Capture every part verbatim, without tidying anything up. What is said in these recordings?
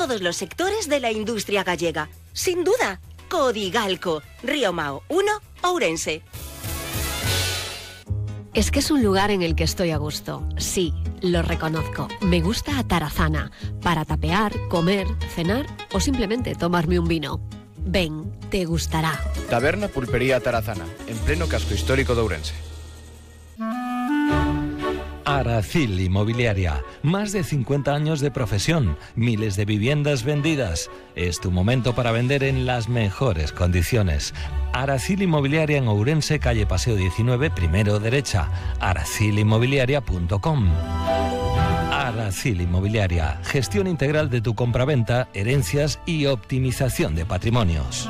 todos los sectores de la industria gallega. Sin duda, Codigalco, Río Mao uno, Ourense. Es que es un lugar en el que estoy a gusto. Sí, lo reconozco. Me gusta Atarazana, para tapear, comer, cenar o simplemente tomarme un vino. Ven, te gustará. Taberna Pulpería Atarazana, en pleno casco histórico de Ourense. Aracil Inmobiliaria, más de cincuenta años de profesión, miles de viviendas vendidas. Es tu momento para vender en las mejores condiciones. Aracil Inmobiliaria en Ourense, calle Paseo diecinueve, primero derecha, aracil inmobiliaria punto com. Aracil Inmobiliaria, gestión integral de tu compraventa, herencias y optimización de patrimonios.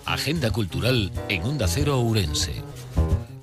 Agenda cultural en Onda Cero Ourense.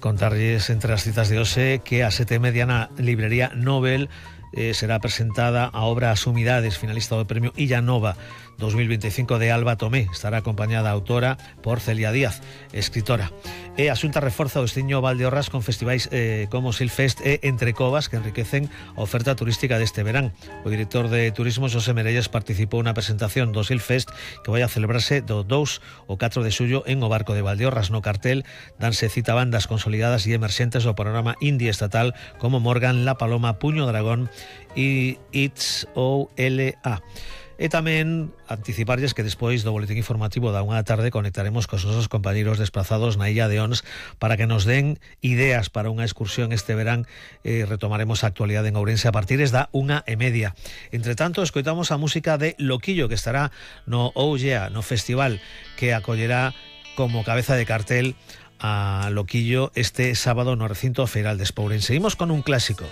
Contarlles entre as citas de hoxe que a sete e media na librería Nobel eh, será presentada a obra As Humidades, finalista do premio Illa Nova dos mil veinticinco de Alba Tomé. Estará acompañada a autora por Celia Díaz, escritora. E a Xunta reforza o destiño Valdeorras con festivais eh, como Silfest e Entre Covas que enriquecen a oferta turística deste verán. O director de Turismo, Xosé Merelles, participou na presentación do Silfest que vai a celebrarse do dous ao catro de xullo en o Barco de Valdeorras. No cartel danse cita bandas consolidadas e emerxentes do panorama indie estatal como Morgan, La Paloma, Puño Dragón e It's O L A. E tamén anticiparlles que despois do boletín informativo da unha da tarde conectaremos cos nosos compañeiros desplazados na Illa de Ons para que nos den ideas para unha excursión este verán. Eh, retomaremos a actualidade en Ourense a partir da unha e media. Entre tanto, escoitamos a música de Loquillo, que estará no Oh Yeah, no festival que acollerá como cabeza de cartel a Loquillo este sábado no recinto feiral de Ourense. Seguimos con un clásico.